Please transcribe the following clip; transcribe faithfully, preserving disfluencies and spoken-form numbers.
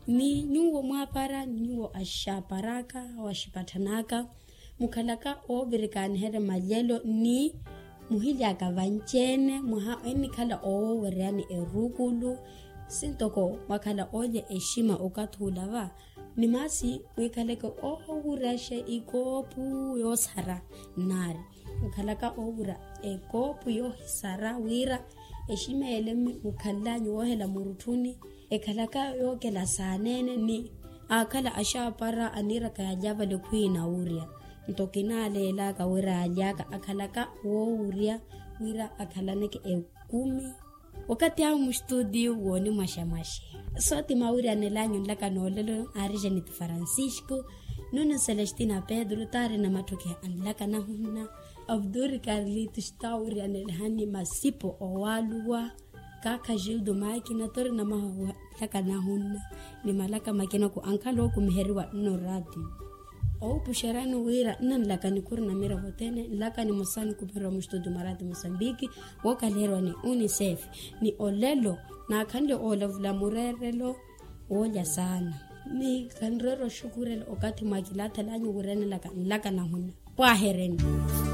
Ni nyuwo mwaapara ni nyuwo axaaparaka, waxipathanaka, mukhalaka oovirikaaniherya malyelo ni muhilyaka vanci-ene mwaha ennikhala owoweryani erukulu. Sintoko mwakhala olya exima okathi ula va, ni maasi mwikhaleke owuryaxe ikoopu yoosara nnaari, mukhalaka owurya ekoopu yoohisara wira exima ele mukhallanyu woohela murutthuni, ekhalaka yookela saaneene ni aakhala axaapara aniiraka yalya vale khwiina wurya. Nto kinaaleelaka wira yalyaka akhalaka woowurya wira akhalaneke ekumi. Wakathi awo mustuti wooni mwaxamwaxe. Sootima wiriyanelanyu nlaka noolelo aari janiti francisco, nuni celestina pedro taari namatthokeha anlaka nahunna, abduri karlitus ta wiriyanelehani masipo owaaluwa, kaakha jildo makina tori namahahuha nlaka nahunna, ni malaka makina ku ankhala ookumiheriwa nno ratio. Owupuxerani wira nnanlaka nikhuri na miroho othene nlaka nimosa nikupherwa mustuti mwa ratio mosambiki, wookaliheriwa ni unicef. Ni olelo naakhanle oolavula mureerelo woolya saana, ni khanroera oxukurela okathi mwakilaathalanyu wirenelaka nlaka nahunna. Pwaahereni.